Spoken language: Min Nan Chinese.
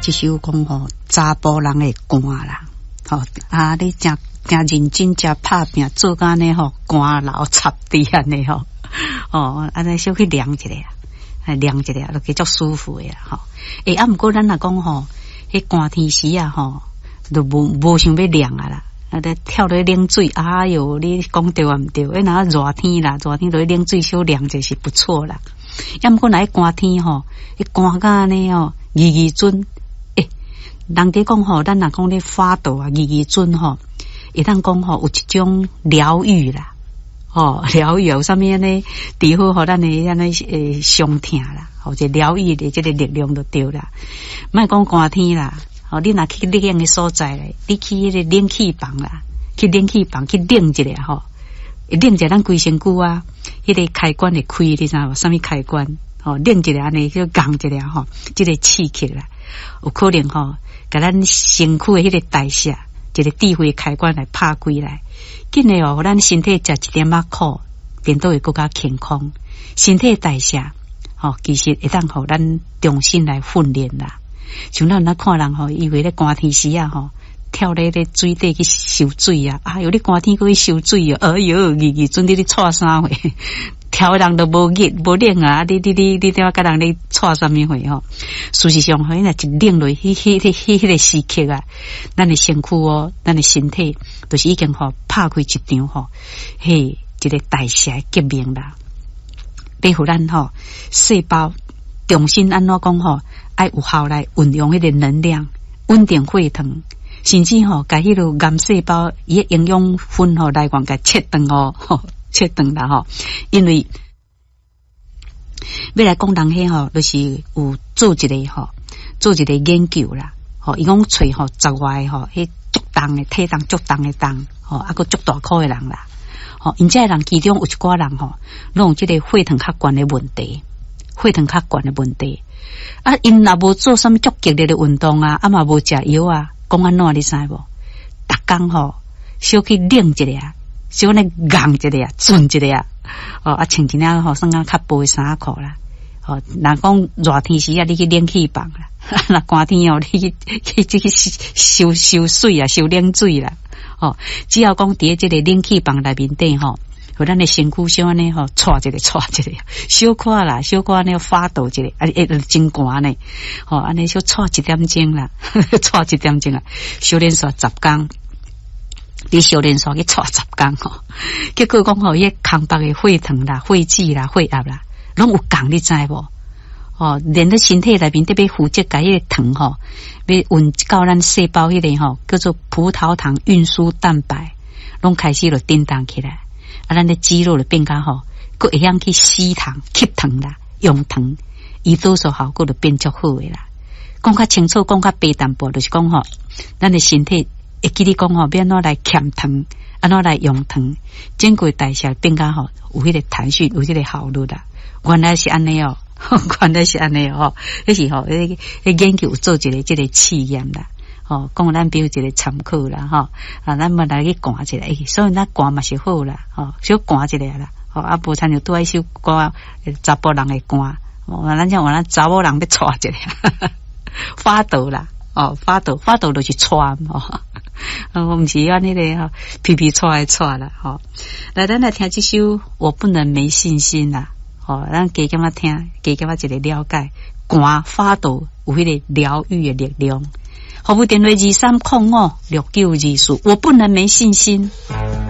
這首講吼，查埔人會寒啦，吼啊！你誠誠認真，誠拍拚做甲按呢吼，汗流插地按呢吼，哦，按呢小可涼一下，涼一下，就會足舒服的啦吼。欸，啊，毋過咱若講吼，彼寒天時啊吼，就無無想欲涼啊啦。啊！咧跳落去冷水，哎喲，你講對抑毋對？欸，若熱天啦，熱天落去冷水小涼者是不錯啦。抑毋過若彼寒天吼，彼寒甲按呢吼，二二陣，欸，人哋講吼，咱若講咧發抖啊，二二陣吼，會當講吼有一種療癒啦，吼，療癒有啥物按呢，治好予咱的按呢欸傷痛啦，或者療癒的這个力量就對啦。莫講寒天啦。哦，你若去冷的所在咧，你去彼个冷氣房啦，去冷氣房去冷一下吼，冷一下咱規身軀啊，彼个開關會開，你知無？啥物開關？吼，冷一下按呢叫降一下吼，這个刺激啦，有可能吼，共咱身軀的彼个代謝，一个智慧開關來拍開來，緊的哦，予咱身體食一點仔苦，顛倒會閣較健康。身體代謝，吼，其實會當予咱重新來訓練啦。像咱若看人吼，以為咧寒天時啊吼，跳咧咧水底去泅水啊，哎喲你寒天閣去泅水哦，哎喲，二二陣你咧掣啥貨？跳的人都無熱無冷啊！你你你你怎共人咧掣啥物貨吼？事實上，吼，若一冷落去，彼彼彼彼个時刻啊，咱的身軀哦，咱的身體，就是已經吼拍開一場吼，嘿，一個代謝革命啦，欲予咱吼細胞重新按怎講吼？愛有效來運用彼个能量，穩定血糖，甚至吼，共彼个癌細胞伊的營養分吼來源共切斷哦，切斷啦吼。因為欲來講人彼吼，就是有做一个吼，做一个研究啦。吼，伊講揣吼十外個吼，彼足重的體重足重的重，吼，啊閣足大箍的人啦。吼，𪜶這个人其中有一寡人吼，攏有這个血糖較懸的問題，血糖較懸的問題。啊，𪜶若無做啥物足激烈的運動啊，啊嘛無食藥啊，講按怎你知無？逐工吼，小去冷一下，小按呢𤢪一下，震一下，哦，啊穿一領吼，算講較薄的衫褲啦。哦，若講熱天時啊，你去冷氣房啦；若寒天哦，你去去去泅泅水啊，泅冷水啦。哦，只要講佇這个冷氣房內面底吼，予咱的身軀小按呢吼，掣一下，掣一下，小可啦，小可按呢發抖一下，啊，會真寒呢，吼，按呢小掣一點鐘啦，掣一點鐘啊，小連續十工，佇小連續去掣十工吼，結果講吼，伊个空腹的血糖啦、血脂啦、血壓啦，攏有降，你知無？哦，連咧身體內面特別負責共彼个糖吼，欲運到咱細胞彼个吼，叫做葡萄糖運輸蛋白，攏開始就振動起來。啊，咱的肌肉就變較吼，閣會曉去吸糖、吸糖啦，用糖，胰島素效果就變足好的啦。講較清楚，講較白淡薄，就是講吼，咱的身體會記得講吼，欲按怎來儉糖，按怎來用糖，整個代謝變較吼，有彼個彈性，有彼個效率啦。原來是按呢哦，原來是按呢哦，彼是吼，彼彼研究有做一个這个試驗啦。吼，講咱比如一個參考啦，吼，啊，咱嘛來去寒一下，欸，所以咱寒嘛是好啦，吼，小寒一下啦，吼，啊，無親像拄仔彼首歌，查埔人會寒，哦，咱這話咱查某人欲掣一下，發抖啦，哦，發抖，發抖就是掣吼，我毋是按彼个吼，皮皮掣的掣啦，吼，來，咱來聽這首《我不能沒信心》啦，吼，咱加減仔聽，加減仔一個了解，寒發抖有彼個療癒的力量。服務電話23056924，我不能沒信心。